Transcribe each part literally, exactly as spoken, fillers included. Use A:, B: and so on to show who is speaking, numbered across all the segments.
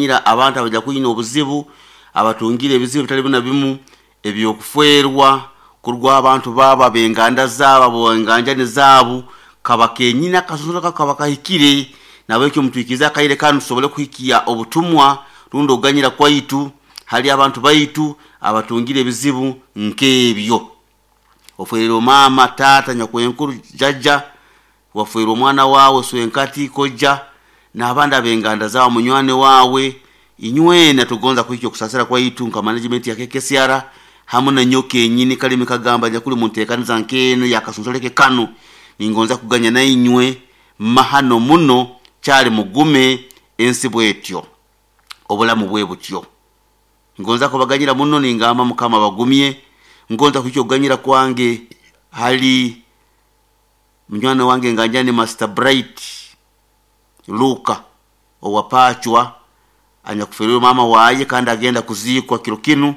A: okuganyira abantu abajya kuyina obuzibu abatungire ebizibu bitali bina bimu ebyokufwerwa kurwa abantu baba benganda zabo bonganjani zabo kaba kenyina kasonsola kaba kahikire nabekyo mutwikiza kaire kanu tusobole kuhikia obutumwa rundo oganyira kwaitu hali abantu baitu abatungire ebizibu nkebyo. Ofwerero mama tata nyakwenkuru jaja wafwerwa omwana wawe swenkati koja n'abandi abenganda zawe munywane wawe inywena tugonza kuhikya okusasira kwaitu nka management ya K K C R hamwe na nyoke enyini kalimi kagamba nyakuli muntekaniza nkeno yakasonsoleke kanu ningonza kuganya na inywe mahano muno kyali mugume ensi bwetyo obulamu bwe butyo. Ngonza kubaganyira muno ningamba Mukama bagumye. Ngonza kuhikya okuganyira kwange hali munywani wange nganjani Master Bright Luka owapachwa anyakuferwe mama waye kandi agenda kuzikwa kiro kinu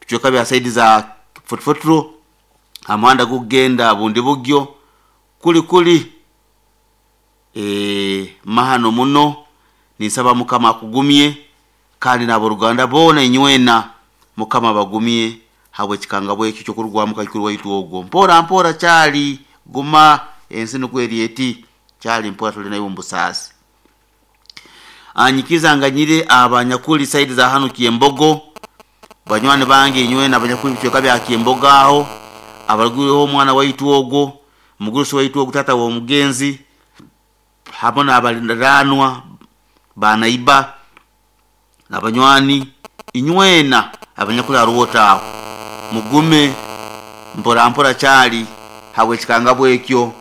A: tuchoka bya saidi za Fotfotro amanda kugenda bundi bugyo kuli kuli e mahano muno nisaba Mukama akugumye kandi n'aboruganda bona inywena Mukama bagumye habwe kikanga bwe cyo kurwa mukakuru waitu ogwo mpora mpora cyali guma ensi nukweri eti cyali mpora tuli nayo mbusasi. Anyikiza nganyire abanyakuli saidi za hano Kiembogo banywani bange inywena abanyakuli bicweka bya Kiembogo aho abaruguriho omwana waitu ogwo mugurusi waitu ogwo tata wa mugenzi hamwe n'abalindanwa banaiba nabanywani inywena abanyakuli aruwota aho mugume mpora mpora cyali habwe kikanga bwekyo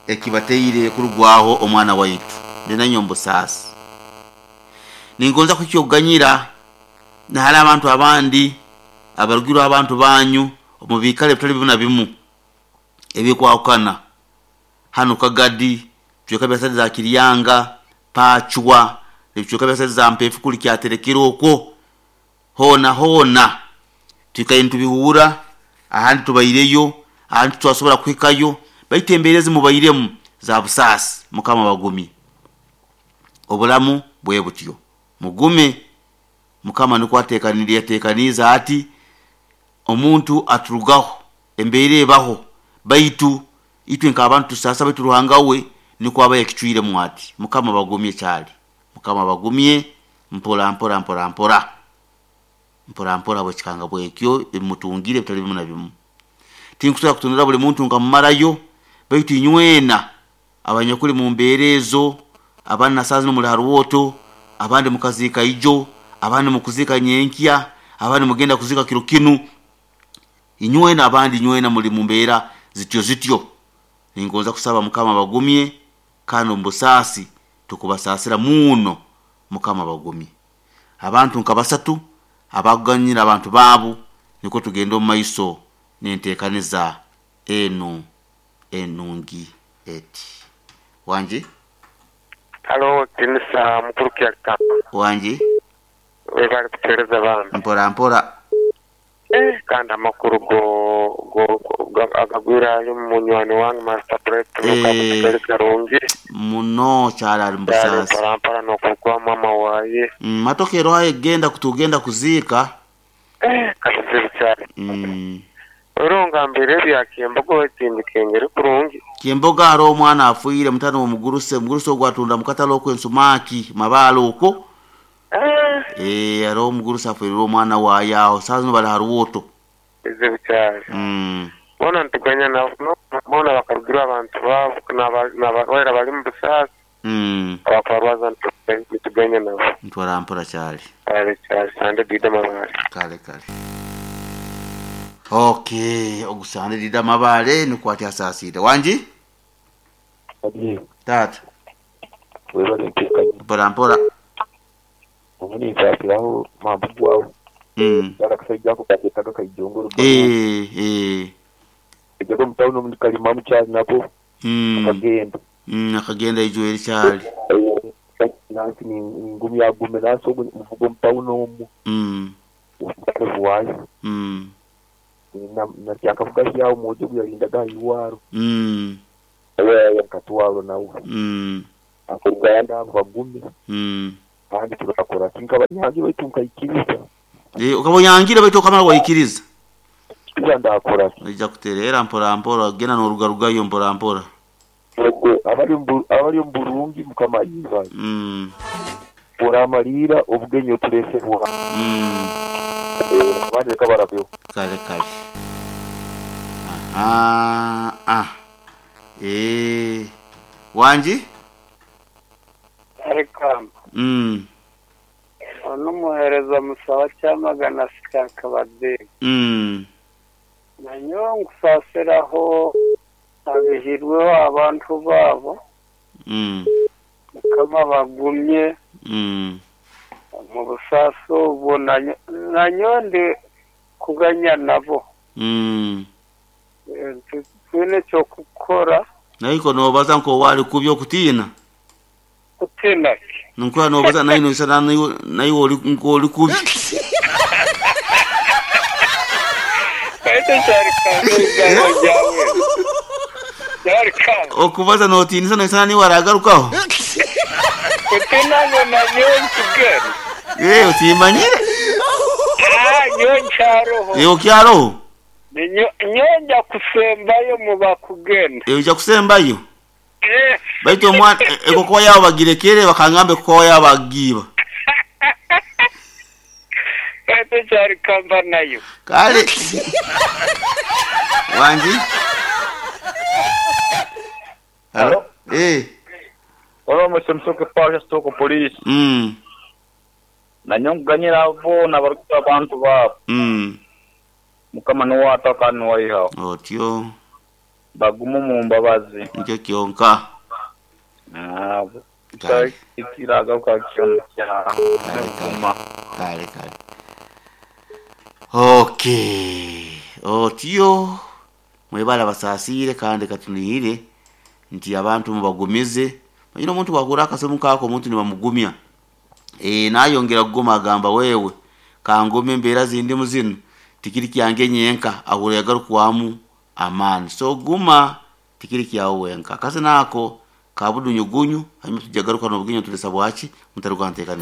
A: ekibateire kurugwaho omwana waitu ndinanyo mbusasi. Ningonza kukyoganyira na hali abantu abandi abarugirwa abantu banyu omubikale bitali bina bimu ebikwakana hano Kagadi bicweka bya sadi za Kiryanga Pachwa ebicweka bya sadi za Mpefu kuli kyaterekera okwo hona hona tukaye ntubihura ahandi tubaireyo ahandi twasobora kuhikayo baitembereze mubairemu za busasi Mukama bagumi obulamu bwe butyo mugume. Mukama niko atekaniriye atekaniza ati omuntu aturugaho embere baho baitu itwe nka abantu sasa baitu Ruhanga we niko aba yakicwire mwati. Mukama bagumye cyali Mukama bagumye mpora mpora mpora mpora mpora mpora bo kikanga bwekyo emutungire bitali bimu na bimu. Tinkusobola kutunura buli muntu nkamumarayo baitu inywena abanyakuli mu mberezo abana sazi no muri haruwoto abandi mukazika ijo abandi mukuzika nyenkya abandi mugenda kuzika kiro kinu inywena abandi inywena muri mumbera zityo zityo. Ningonza kusaba Mukama bagumye kandi mbusasi tukubasasira muno Mukama bagumye abantu nkabasatu abaganyira abantu babo niko tugenda mu maiso nentekaniza enu enungi eti wanje.
B: Halo tinisa mukuru kyaka
A: wanje
B: webali kutereza bambi
A: mpora mpora
B: eh kandi amakuru go go agagwira ali munywani wange Master Bright Luka kutereza karungi
A: muno cyara ali mbusasi
B: mpora mpora nokugwa mama waye
A: mm, matokero aye genda kutugenda kuzika
B: eh kazibu cyane
A: mm.
B: Oronga mbere bya Kiembogo ekindi kengere kurungi
A: Kiembogo ari omwana afuire mutano omuguruse muguruse ogwatunda mukatalo okwensumaki mabalo uko
B: eh
A: eh ari omuguruse afuire omwana wayaho sazo bali haruwoto
B: bizibu cyane
A: mm
B: bona ntuganya na bona bakarugira abantu babo n'abarwaira bali mu busasi
A: mm
B: abakarwaza ntuganya nabo
A: ntwara mpora cyane
B: kale cyane sande dida mabale
A: kale kale. Okay, ogusande dida mabale nikwati asasire wanji
C: Adi
A: tata
C: webale ntekanye
A: mpora mpora
C: ubundi nshakiraho mpamvu gwawe
A: mm
C: yala kasajja ako kaketaga kaijongoro
A: eh eh
C: ejjago mutawuni omu kalima mukyali nako
A: mm
C: akagenda
A: mm akagenda ijweri cyali
C: nansi ngumi yagume nansi ogu muvugo mutawuni omu
A: mm
C: wayo
A: mm
C: nakyakavuga hyawo mwojo guyalindaga iwaro
A: mm
C: katwalo nawe
A: mm
C: akuruganda abo bagume
A: mm
C: Kandi turakora kinkabanyangi baitu nkaikiriza.
A: Eh, ukaba oyangire baitu okamara waikiriza.
C: Kiza ndakora ki?
A: Ojja kutereera mpora mpora genda n'orugarugayo mpora mpora.
C: Yego abali mu abali mu Burungi Mukama yibaze.
A: Mm.
C: Oramalira obugenyi otuleesebwa.
A: Mm.
C: Eh, abandi leka barabeho.
A: Kale kale. Aha. Ah. Eh. Wanji?
D: Arikamba
A: Mm.
D: onumuhereza musaba kyamagana sikankabadde
A: Mm.
D: nanyowe nkusasiraho abihirweho abantu baabo
A: Mm.
D: Mukama bagumye
A: Mm.
D: mu busaasi obwo nanyo- nanyowe ndi kuganya nabo.
A: Mm.
D: Eh, tu- twine ekyokukora.
A: Naiko nobaza nko wali kubyo okutiina.
D: Kutina ki?
A: Nkuba nobaza nayo noisana nayo nayo oli nko oli kubi.
D: Kaite kyarikamba ebigambo byawe kyarikamba.
A: Okubaza notiinisa noisana niwe aragarukaho.
D: Kutina ngo nanyowe nkugenda.
A: Eh, otimanyire.
D: Ah, nyowe nkyaroho.
A: Eh, okyaroho.
D: Ninyo- nyonja kusembayo mu bakugenda.
A: Eh, ojja kusembayo.
D: Eh,
A: Baitu omwana ekokuba yabo bagirekere bakangambe kuba yabo bagiiba.
D: Kaite kyarikamba nayo.
A: Kale. Wanji? Halo? Eh.
E: Olwo musomusoke pasha sitoko polisi.
A: Mm.
E: Nanyonganyira abo nabarukuta abantu babo.
A: Mm.
E: Mukama niwataka niwaihaho.
A: Otyo
E: Bagumu mu mbabazi.
A: nikyo kyonka.
E: Nabo.
A: Kale.
E: Ikiragaruka kyona kya.
A: Kale kale. Kale kale. Okay. Otyo mwebala basaasire kandi katunihire nti abantu mubagumize. Manyire omuntu bwakura akasemu kaako omuntu nibamugumya. Eh, nayongera kuguma agamba wewe kangume embeera zindimu zinu tikiri kyange nyenka ahura yagarukamu amaani. So guma tikiri kyawe wenka. Akasena ako kabudunyugunyu hanyuma tujagaruka n'obugenyi tulesa bwaki mutaruka nteekaniza.